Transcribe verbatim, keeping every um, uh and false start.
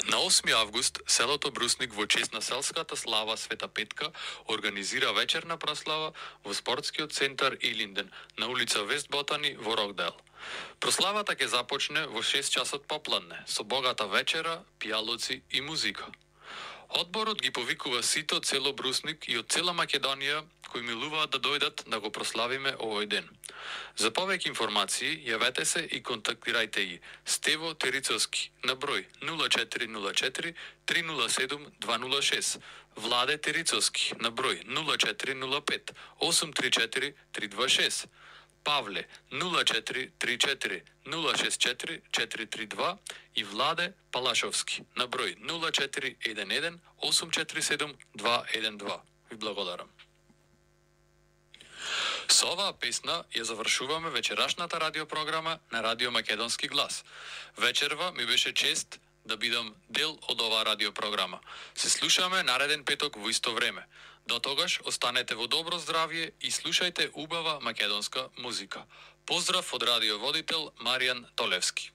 На осми август, селото Брусник во чест на селската слава Света Петка организира вечерна прослава во спортскиот центар Илинден на улица Вест Ботани во Рокдейл. Прославата ќе започне во шест часот попладне со богата вечера, пијалоци и музика. Одборот ги повикува сите од село Брусник и од цела Македонија кои милуваат да дојдат да го прославиме овој ден. За повеќе информации јавете се и контактирајте ги Стево Терицовски на број нула четири нула четири три нула седум два нула шест, Владе Терицовски на број нула четири нула пет осум три четири три два шест, Павле нула четири три четири нула шест четири четири три два и Владе Палашовски на број нула четири еден еден осум четири седум два еден два. Ви благодарам. Со оваа песна ја завршуваме вечерашната радиопрограма на Радио Македонски глас. Вечерва ми беше чест да бидам дел од оваа радиопрограма. Се слушаме нареден петок во исто време. До тогаш останете во добро здравје и слушајте убава македонска музика. Поздрав од радиоводител Маријан Толевски.